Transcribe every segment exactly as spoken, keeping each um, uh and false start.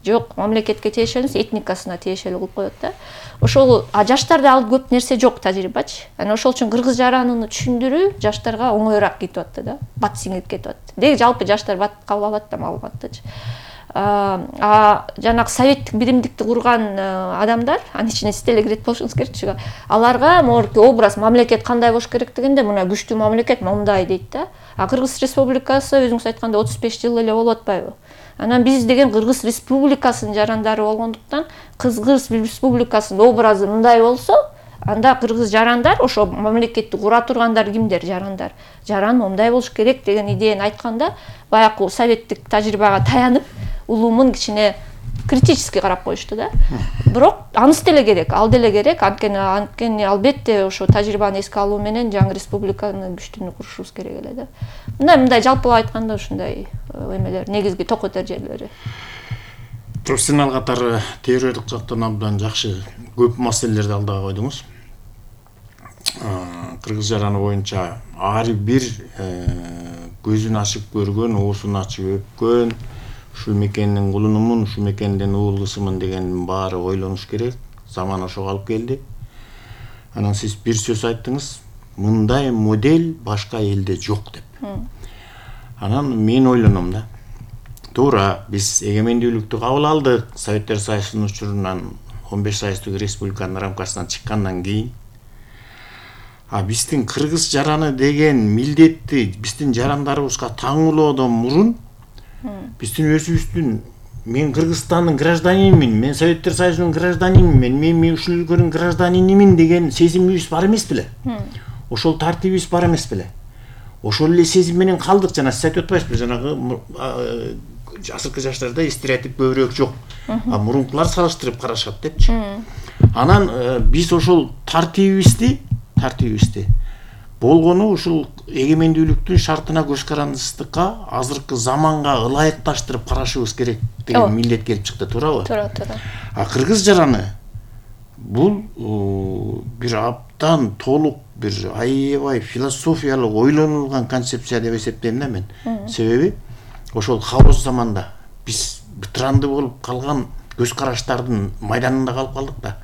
жок, мамлекетке тиешелүү эмес, этникасына тиешелүү кылып коет да. Ошол жаштарда ал көп нерсе жок тажрыйбачы. Анан ошол үчүн кыргыз жараныны түшүндүрүү жаштарга оңоюраак кетип атты да. Бат сиңип кетип атты. Деги жалпы жаштар бат кабыл алат да маалыматтычы. А жанагы советтик биримдикти курган адамдар, анын ичине сиз деле кирет болушуңуз керек. Аларга могу образ мамлекет кандай болуш керектигинде мына күчтүү мамлекет мондай дейт да. А Кыргыз Республикасы өзүңүз айткандай отуз беш жыл эле болуп атпайбы? Анан биз деген Кыргыз Республикасынын жарандары болгондуктан, Кыргыз Республикасынын образы мындай болсо, анда кыргыз жарандар, ошо мамлекетти кура тургандар кимдер? Жарандар. Жаран мондай болуш керек деген идеяны айтканда, баягы советтик тажрыйбага таянып, улумун кичине критически карап коюшту да. Бирок анысы деле керек, ал деле керек. Анткени анткени албетте ошо тажрыйбаны эске алуу менен жаңы республиканы күчтүүнү курушубуз керек эле да. Мындай мындай жалпылап айтканда ушундай эмелер, негизги токотор жерлери. Профессионал катары теориялык жактан абдан жакшы көп маселелерди алдыга койдуңуз. Кыргыз жараны боюнча ар бир көзүн ачып көргөн, оосун ачып өпкөн, ушул мекендин кулунумун, ушул мекендин уулусумун дегендин баары ойлонуш керек. Заман ошого алып келди. Анан сиз бир сөз айттыңыз, мындай модель башка элде жок деп. Анан мен ойлоном да. Туура, биз эгемендүүлүктү кабыл алдык. Советтер Союзунун учурунан он беш сайыстык республиканын рамкасынан чыккандан кийин. А биздин кыргыз жараны деген милдетти биздин жарандарыбызга таңуулоодон мурун биздин өзүбүздүн мен Кыргызстандын гражданинимин, мен Советтер Союзунун гражданинимин, мен мен ушул өлкөнүн гражданинимин деген сезимибиз бар эмес беле? Ошол тартибибиз бар эмес беле? Ошол эле сезим менен калдык. Жана сиз айтып атпайсызбы, жанагы азыркы жаштарда стереотип көбүрөөк жок. А мурункулар салыштырып карашат депчи. Анан биз ошол тартибибизди, тартибибизди болгону ушул эгемендүүлүктүн шартына көз карандысыздыкка, азыркы заманга ылайыкташтырып карашыбыз керек деген милдет келип чыкты, туурабы? Туура, туура. А кыргыз жараны бул бир абдан толук бир аябай философиялык ойлонулган концепция деп эсептейм да мен. Себеби ошол хаос заманда биз бытыранды болуп калган көз караштардын майданында калып калдык да.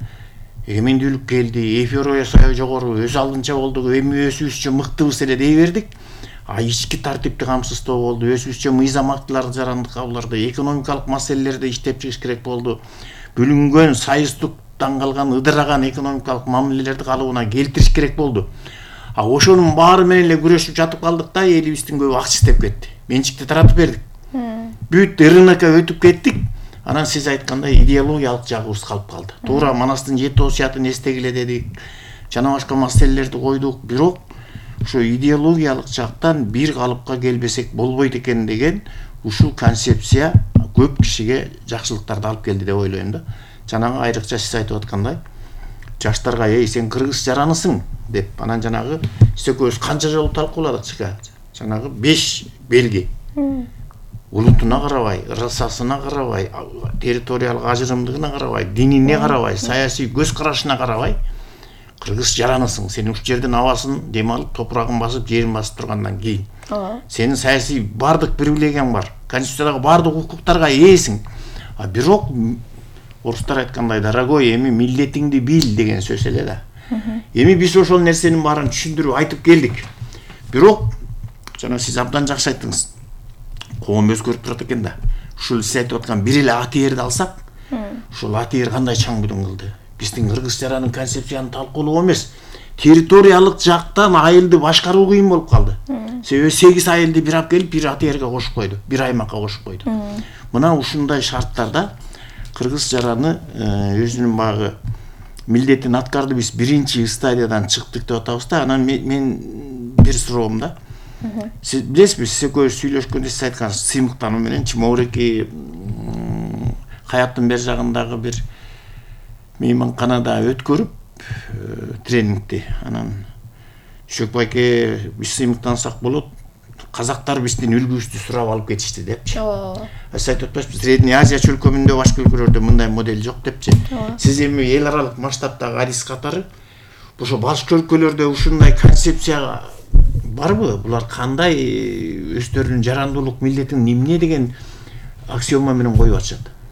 Эгемендүүлүк келди, эйфория жогору, өз алдынча болдук, эми өзүбүзчө мыктыбыз эле дей бердик. А ички тартипти камсыздоо болду, өзүбүзчө мыйзам актыларды жарандык кабыл алдык, экономикалык маселелерди иштеп чыгыш керек болду. Бүлүнгөн, сайыстыктан калган, ыдыраган экономикалык мамилелерди калыбына келтириш керек болду. А ошонун баары менен эле күрөшүп жатып калдык да, элибиздин көбү акча иштеп кетти. Менчикти таратып бердик. Бүт рынокко өтүп кеттик. Анан сиз айткандай идеологиялык жагыбыз калып калды. Туура, Манастын жети осуятын эстегиле дедик. Жана башка маселелерди койдук, бирок ошо идеологиялык жактан бир калыпка келбесек болбойт экен деген ушул концепция көп кишиге жакшылыктарды алып келди деп ойлойм да. Жанагы айрыкча сиз айтып аткандай, жаштарга "Эй, сен кыргыз жаранысың" деп, анан жанагы биз экөөбүз канча жолу талкууладык чыга. Жанагы беш белги. Улутуна карабай, ырысасына карабай, территориялык ажырымдыгына карабай, динине карабай, саясий көз карашына карабай, кыргыз жаранысың. Сен ушул жердин абасын дем алып, топурагын басып, жерин басып тургандан кийин. Сенин саясий бардык привилегияң бар. Конституциядагы бардык укуктарга ээсиң. А бирок орустар айткандай, дорогой, эми милдетиңди бил деген сөз эле да. Эми биз ошол нерсенин баарын түшүндүрүп айтып келдик. Бирок жана сиз абдан жакшы айттыңыз. Коом өзгөрүп турат экен да. Ушул сиз айтып аткан бир эле АТРди алсак, ушул АТР кандай чаң будун кылды? Биздин кыргыз жаранын концепцияны талкуулоо эмес, территориялык жактан айылды башкаруу кыйын болуп калды. Себеби сегиз айылды бир алып келип бир АТРге кошуп койду, бир аймакка кошуп койду. Мына ушундай шарттарда кыргыз жараны өзүнүн багы милдетин аткарды. Биз биринчи стадиядан чыктык деп атабыз да. Анан мен бир суроом да. Сиз билесизби, сиз экөөбүз сүйлөшкөндө сиз айткансыз, сыймыктануу менен Чимауреки Каяптын бер жагындагы бир мейманканада өткөрүп тренингти. Анан Шөк байке, биз сыймыктансак болот, казактар биздин үлгүбүздү сурап алып кетишти депчи. Сиз айтып атпайсызбы, Средний Азия чөлкөмүндө башка өлкөлөрдө мындай модель жок депчи. Сиз эми эл аралык масштабтагы адис катары ошо башка өлкөлөрдө ушундай концепция барбы? Булар кандай өздөрүнүн жарандуулук милдетин эмне деген аксиома менен коюп атышат?